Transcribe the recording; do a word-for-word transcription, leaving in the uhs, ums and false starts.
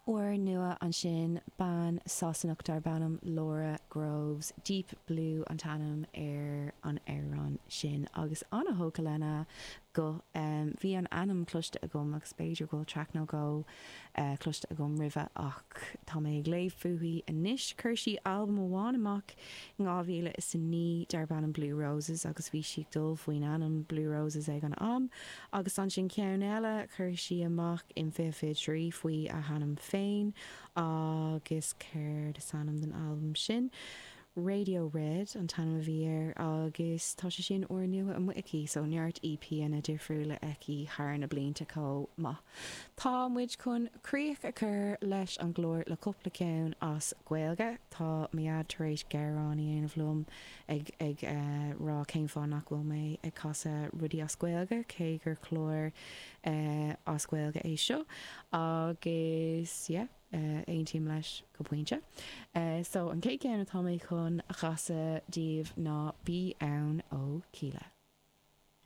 Úrnua ansin, bean Sasanach darb ainm Laura Groves, Deep Blue an t-ainm ar an amhrán sin agus an-tógtha lena guth. Bhí an ainm cloiste agam agus b'fhéidir go bhfuil traic nó dhó cloiste agam roimhe ach tá mé ag léamh fúithi anois. Chuir sí albam amháin amach in dhá mhíle is a naoi darb ainm Blue Roses agus bhí sí ag dul faoin ainm Blue Roses ag an am agus ansin ceann eile chuir sí amach in fiche fiche trí faoi a hainm féin agus céard is ainm don albam sin? Radio Red an t-ainm a bhí air agus tá sé sin úrnua amuigh aici so neart EPanna difriúla aici thar na blianta chomh maith. Tá muid chun críoch a chur leis an gclár le cúpla ceann as Gaeilge. Tá mo dhaid tar éis gearán a dhéanamh liom ag ag rá cén fáth nach bhfuil mé ag casadh rudaí as Gaeilge cé gur clár as Gaeilge é seo agus yeah aontaím leis go pointe. So an chéad cheann atá mé chun a chasadh daoibh ná Bí Ann ó Kíla.